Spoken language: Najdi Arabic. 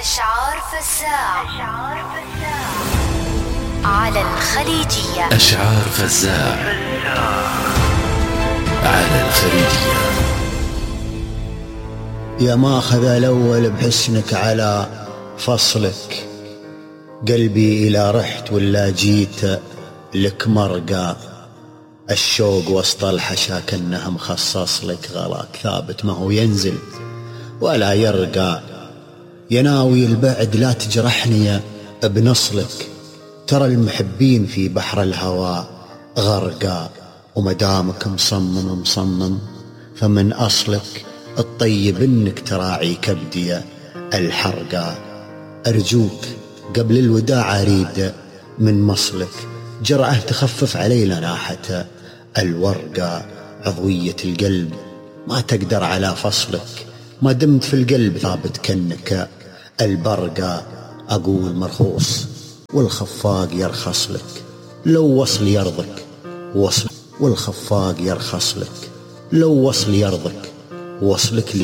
أشعار فزاع على الخليجية. أشعار فزاع على الخليجية. يا ماخذ الأول بحسنك على فصلك، قلبي إلى رحت ولا جيت لك مرقى، الشوق وسط الحشا كأنه مخصص لك، غلاك ثابت ما هو ينزل ولا يرقى، يناوي البعد لا تجرحني بنصلك، ترى المحبين في بحر الهوى غرقى، ومدامك مصمم فمن أصلك الطيب إنك تراعي كبدي الحرقى، أرجوك قبل الوداع أريد من مصلك جرعة تخفف علي لناحة الورقة، عضوية القلب ما تقدر على فصلك، ما دمت في القلب ثابت كأنك البرقة، أقول مرخوص والخفاق يرخص لك، لو وصل يرضك وصل، والخفاق يرخص لك لو وصل يرضك وصلك لي.